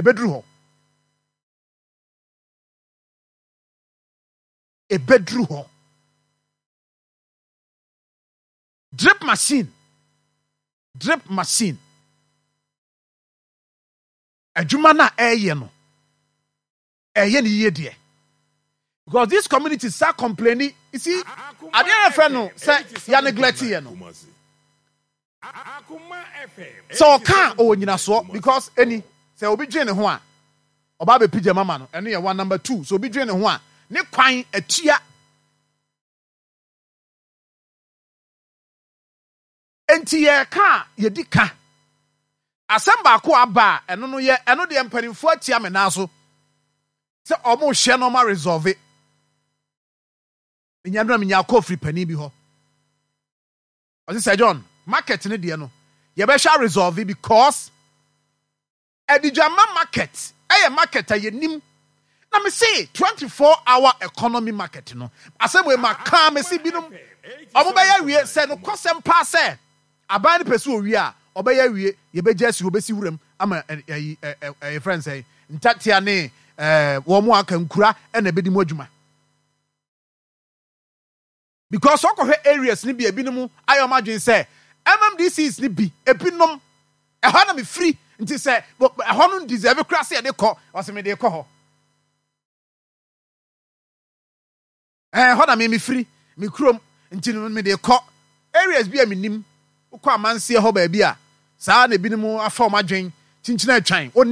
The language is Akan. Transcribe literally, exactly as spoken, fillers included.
Ebeduru hɔ, ebeduru hɔ. Drip machine, drip machine adwuma no a ɛreyɛ no, ɛyɛ ne yie deɛ, because this community start complaining. You see, adeɛ yɛ fɛ no sɛ yɛ neglect yɛ no sɛ ɔka ɔwɔ nyinasoɔ, because ɛni sɛ obi dwen ne ho a, ɔba abɛpi gyama ma no. Ɛno yɛ one. Number two, sɛ obi dwen ne ho a, ne kwan atua. Nti yɛka a, yɛdi ka. Asɛm baako aba a, ɛno no yɛ ɛno deɛ, mpanimfoɔ atia me nan so sɛ ɔmo hyɛ no ɔmo resolve. Menya no na menya akɔ firi panin bi hɔ, ɔse sɛ John, market ne deɛ no, yɛbɛhwɛ resolve, because Adigyama Market ɛyɛ market a yɛnim na me se twenty-four hour economy market no. Asɛm wei ma kaa me se binom ɔmo bɛyɛ wie sɛ no kɔsɛm paa sɛ aban no pɛ sɛ owie a, ɔbɛyɛ wie. Yɛbɛgye asi hɔ, bɛsi wuram ama ɛyi ɛyɛ frɛ nsɛn ntatea ne ɛɛ wɔn mo aka nkura ɛna ɛbɛdi mu adwuma, because ɔkɔhwɛ areas ni bi, ebinom ayɛ ɔmo adwene sɛ M M D Cs ni bi, ebinom ɛhɔ na mefiri, nti sɛ ɛhɔ no deserve kora sɛ yɛde kɔ, ɔsɛ mede kɔ hɔ. Ɛɛ hɔ na me mefiri, me kurom, nti no mede kɔ areas bi a menim. Wokɔ amanseɛ hɔ baabi a saa na ebinom afa ɔmo adwen kyinkyini atwan oni.